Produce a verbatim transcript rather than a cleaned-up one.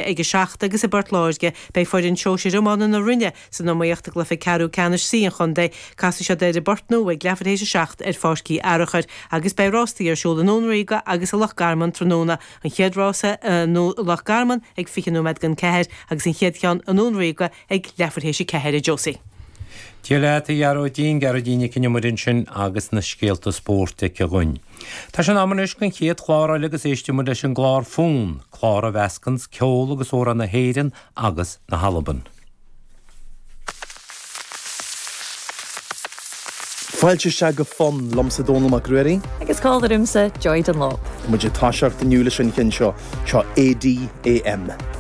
Ag a seacht agus i bPort Láirge beidh foireann sóisir iomána na Rinne san iomaíocht i gcluiche ceathrú ceannais C an chontae. Casfaidh siad ar an bPort Nua ag leathuair théis a seacht ar Pháirc Uí Fhearachair agus beidh rástaí ar siúl i nDún Ríoga agus i Loch Garman tráthnóna, an chéad rása i Loch Garman ag fiche nóiméad don ceathair agus an chéad cheann i nDún Ríoga ag leathuair théis a ceathair, a Josie. Dia leat, a Ghearóidín, Gearóidín Nic an Iomaire ansin agus na scéalta spóirt aici dhúinn. Tá sé in am anois don chéad chlár eile agus éistfidh muid leis an gclár Fonn, clár a mheascanns ceol agus amhráin na hÉireann agus na hAlban. Fáilte isteach go Fonn, liomsa Dónall Mac Ruairí. Agus cá ormsa Joy Dunlop. Tá muid ag toiseacht inniu leis an cheann seo, seo ADAM.